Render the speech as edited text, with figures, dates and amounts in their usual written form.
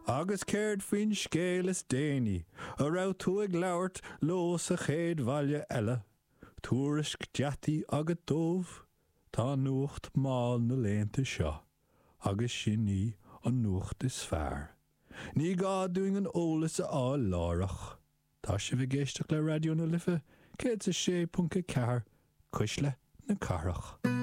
Agus céard faoin scéal is déanaí a raibh tú ag labhairt leo sa chéad bhaile eile? Tuairisc deataí agat dóibh? Tá nuacht mall na laethanta seo, agus sin í an nuacht is fearr. Ní gá dúinn an eolas a fháil láithreach. Tá sibh ag éisteacht le Raidió na Life 106.4, Cuisle na Cathrach.